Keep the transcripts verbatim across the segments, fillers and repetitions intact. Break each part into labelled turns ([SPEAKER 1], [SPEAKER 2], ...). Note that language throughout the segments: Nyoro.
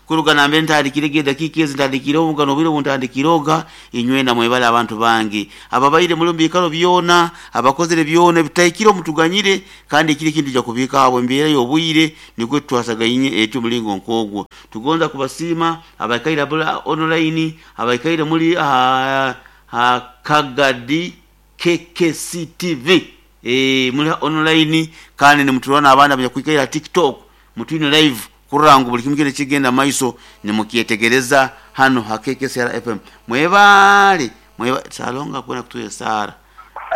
[SPEAKER 1] Kuruga nambe ntandikire dakika ezi ntandikire omugano obwire buntandikiroga inywena mwebale abantu bange ababaire muri mbikaro byona abakozere byona bitaikiro mutuganyire kandi kiri kintu ja kubika abo embere yobwire niko twasagayinye etu mulingo nkogwo tugonza kubasima abakaira bula online abakaira muri ha, ha Kagadi K K C T V eh muri online kandi ni mutulwana abana abanyakwikaira TikTok mutwine live kurangu buli kimwe kigenda maiso ni mukietegereza hano ha K K C R F M mwebale mweba salonga kwena kutuye sara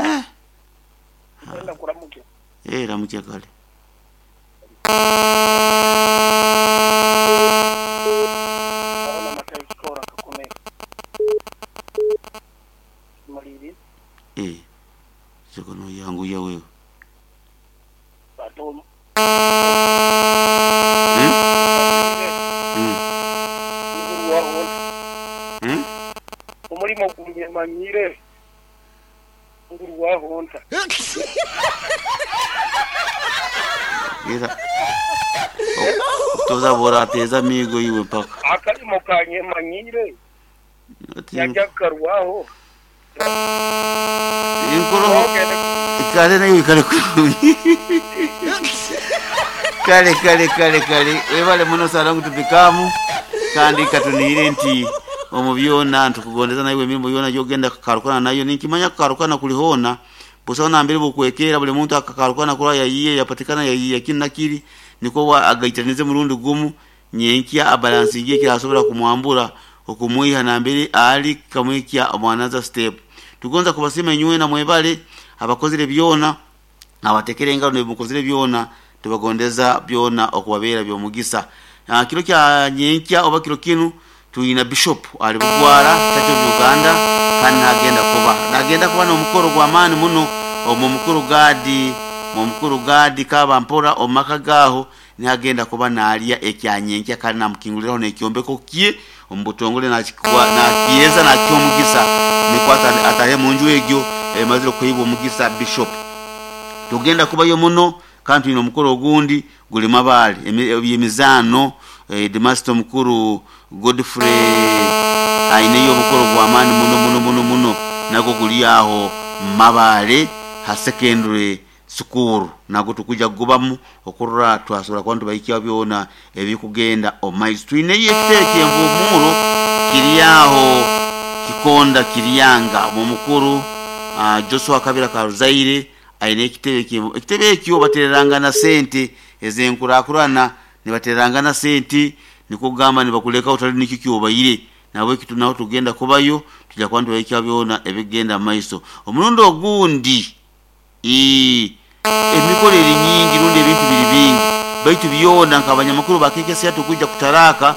[SPEAKER 1] eh
[SPEAKER 2] kwenda kuramukia
[SPEAKER 1] eh ramukia kale
[SPEAKER 2] ona matai skora kakome maliri
[SPEAKER 1] eh sikono yangu ya wewe
[SPEAKER 2] bato
[SPEAKER 1] hmm? Mm. Mm?
[SPEAKER 2] Omulimo gumanyire nguru wahonta
[SPEAKER 1] ira toza bora teza migo iwe mpaka
[SPEAKER 2] akalimo kanye manyire yajakarwaho
[SPEAKER 1] inkoro kale nayo ikale kale kale kale kale webale muno salangu tupikamu kandi katunire nti omubyona ntukugondeza nayo emirimo yona yogenda kakarukana nayo ninkimanya kakarukana kulihona busona mbere bukwekera buli muntu akakarukana kula yayiye yapatikana yayiye kina kiri niko wa agaitanize murundi gumu nyenkia abalansi ngiye kirasobora kumwambura okumuiha na mbere ali kamwikia omwanaza step tugonza kubasima nywe na mwebale abakozire byona abatekere engalo nebukozire byona tubagondeza byona okubabera byomugisa uh, kiro kya nyenkia oba kiro kinu tuina bishop ali bugwara Church of Uganda kandi nagenda kuba nagenda kuba no mukoro gwa mani muno omu mukuru gadi mu mukuru gadi kaba mpora omaka gaho nagenda kuba nalya ekyanyenkia kandi namukinguliraho nekyombeko kie ombutongole na chikwa na kieza na kyomugisa nikwata atahe munju egyo emazire kuyiba omugisa bishop tugenda kubayo muno kandi tuina omukoro ogundi guli mabali emizano eh, Demasto mukuru Godfrey aineyo omukoro gwa mani muno muno muno muno nago guli aho mabale ha secondary school nago tukuja kubamu okurra twasura kwantu bayikia byona ebikugenda omaizi tuineyo ekiteke envumuro kiriyaho kikonda kiriyanga mu mukuru uh, Joshua Kabira Karuzaire aine ekitebe kimu ekitebe ekyo batereranga na sente ezenkurakurana nibatereranga na sente nikugamba nibakuleka utali nikikyo bayire nawe kitu naho tugenda kubayo tujya kwantu bayikia byona ebigenda maiso omurundo ogundi i emikoro eri nyingi rundi ebintu biri bingi baitu byona nkabanyamakuru bakekese tukuja kutaraka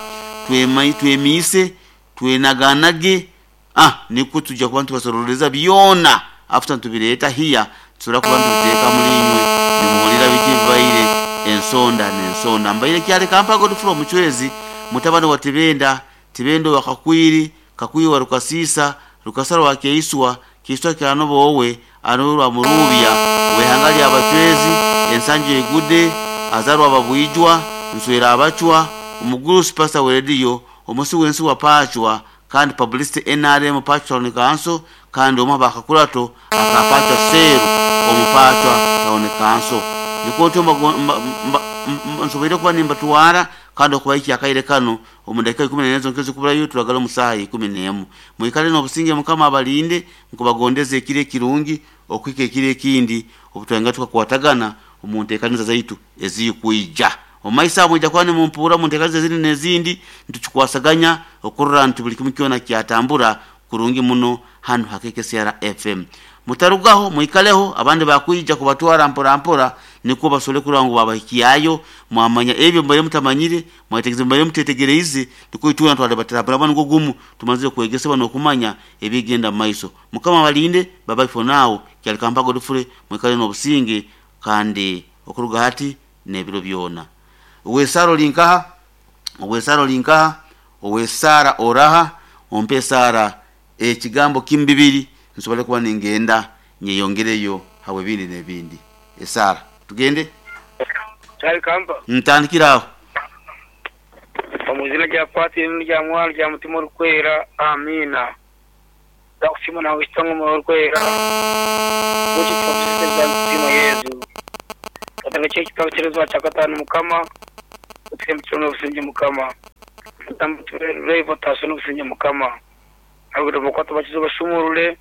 [SPEAKER 1] twemai twemise twenaganage ah niko tujya kubantu basororeza byona after tubireta hiya tsura kubantu biteka mulinywe nimuhulira biki bibaire ensonda nensonda mbaire kyale kampa Godfrey Muchwezi mutabani wa Tibenda Tibendo wa Kakwiri Kakwiri wa Rukasisa Rukasara wa Keiswa Keiswa kyanobo wowe anurwa murubya wehangali abachwezi ensanje egude azarwa babwijwa nswera abachwa omuguru pastor we radio omusi wensi wa pachwa kandi publicity N R M pachwa ni kanso kandi omwa bakakurato akapachwa seru omupachwa taone kanso nikoto nsobeire kuba nimbatwara kandi okubaiki akaire kano omudakika ikumi na nne nkezo kubulayo turagala omusaha ikumi n'emu mwikale n'obusinge mukama abalinde nkubagondeze ekiro ekirungi okwika ekiro ekindi obutwanga tukakwatagana omu nteekaniza zaitu ezikuija omaisa mwijja kuba nimumpura mu nteekaniza ezindi n'ezindi nitukikwasaganya okurora nti buli kimu kyona kyatambura kurungi muno hano ha K K C R F M mutarugaho mwikaleho abandi bakwija kubatwara mpora mpora niko basole kurango babahikiyayo mwamanya ebyo mbere mutamanyire mwategeze mbere mutetegereize niko ituna twale batarabara bano gumu tumaze kwegesa bano kumanya ebigenda maiso mukama balinde baba for now kyali kampa Godfrey mwikale no businge kandi okuruga hati nebiro byona owesaro linkaha owesaro linkaha owesara oraha ompe sara ekigambo kimbibiri nsobole kuba ningenda nyeyongereyo hawe bindi nebindi esara tugende
[SPEAKER 2] Kyali kamba
[SPEAKER 1] ntandikiraho
[SPEAKER 2] Omu izina rya Patiri n'irya Mwana rya Mutima Orikwera, amiina. Ndakusiima nawe kitangwe Omwoyo Orikwera, Mutima Yezu. Katanga ky'ekitabo ky'erezwa kya kataano Mukama, otuhembukire n'obusinge Mukama. Revo taso n'obusinge Mukama. Abagore bakwata bakize bashumurure,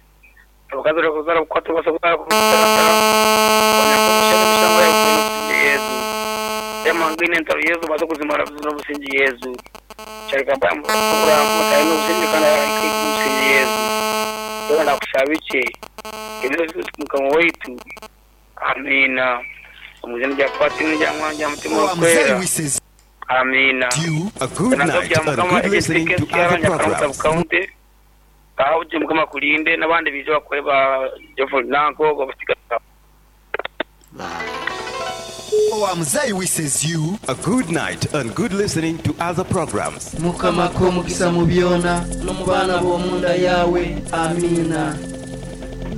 [SPEAKER 2] abakazi bakuzara bakwata basabwa kutata. Abanyakushana emisango yabo n'obusinge Yezu. Yamangine entaro Yezu baza kuzimara n'obusinge Yezu. Kyarigamba mukuramu tayo n'obusinge kandi n'obusinge Yezu. Yewe ndakushaba iki? Ebyo Mukama waitu. Amina. Omu izina rya Patiri n'irya Mwana n'irya Mutima Orikwera.
[SPEAKER 3] Wishes
[SPEAKER 2] Amina.
[SPEAKER 3] you
[SPEAKER 4] A good night and good listening to other programs.
[SPEAKER 2] County aho uje Mukama kulinde n'abandi bije bakore ba Jeffrey Nanko babasiga.
[SPEAKER 1] Bye.
[SPEAKER 3] Owamuzai wishes you
[SPEAKER 4] A good night and good listening to other programs.
[SPEAKER 5] Mukama k'omukisa mu byona no mu baana b'omunda yawe, amiina.